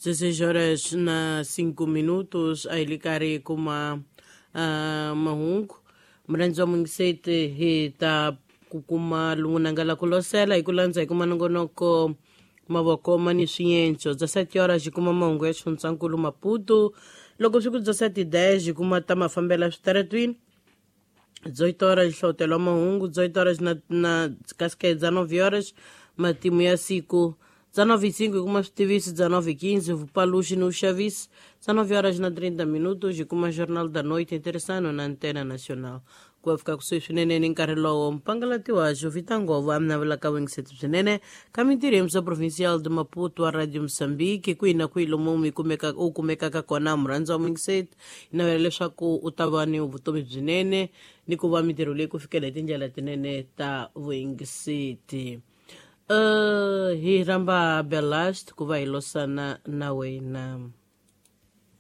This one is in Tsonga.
16 horas na 5 minutos a hi li karhi hi kuma mahungu murhandzi wa mungiseti hi ta ku kuma lungunanga la ku losela hi ku landza hi kuma nongonoko mavoko ma ni swienco bya 7 horas hi kuma mahungu ya xifundzankulu Maputo loko swi ku bya 7 10 hi kuma ta mafambela switaratwini 18 horas nhlotelo wa mahungu 18 horas na kasi dza 9 horas matimu ya siku dza 9:05 hi kuma switiviso dza 9:15 vupaluxi ni vuxavisi dza 9 horas na 30 minutos hi kuma Jornal da Noite ntirhisano na Antena Nacional ku va fika kusuhi swinene ni nkarhi lowo mpangalati wa Jovita Ngova a mi navelaka vuyingiseti byinene ka mintirho ya Musa Provincial de Maputo wa Radio Mozambique kwihi na kwihi lomu mi kumeka u kumekaka kona murhandzi wa muyingiseti hi navela leswaku u ta va ni vutomi byinene ni ku va mintirho leyi ku fikela hi tindlela tinene ta vuyingiseti. Hi rhamba Belast ku va hi losana na wena.